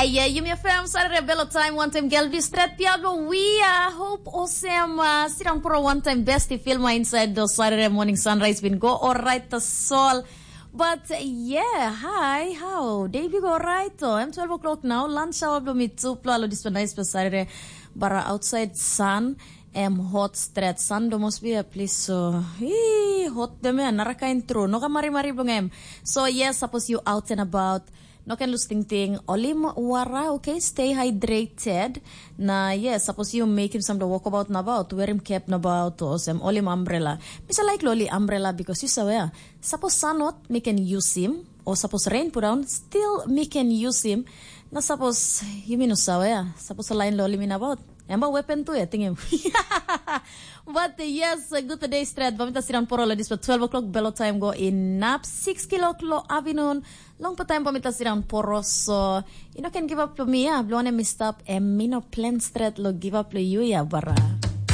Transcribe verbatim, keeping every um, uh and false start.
Aia, yumi FM Saturday Bello Time, one time girl this threat Diablo. We are hope osem uh, sit down for a one time bestie film inside the Saturday morning sunrise been go all right the soul. But uh, yeah, hi, how? Day big all right though. I'm twelve o'clock now. Lunch hour blo me two plo alo this nice for Saturday. But uh, outside sun em hot stret. Sun do must be a place so hii, hot dem ya nara kain tru. No ka mari mari blong em. So yes, suppose you out and about, no can lose ting ting. Olim wara, okay, stay hydrated. Na yes, suppose you make him some the walk about na about, wear him cap na about, or some olim umbrella. Misa like loli umbrella because you saw ya. Suppose sun hot, me can use him. Or suppose rain put down, still me can use him. Na suppose you mean saw ya. Suppose a line loli me na about. Em ba weapon tu ya, ting him. But uh, yes, a good day stret. Bamita siran poro lo dis pa twelve o'clock belo time go in nap six kilok lo afternoon. Long pa time bamita siran poro so you know can give up to me ya. Blone mi stop em mi no plan stret lo give up lo you ya bara.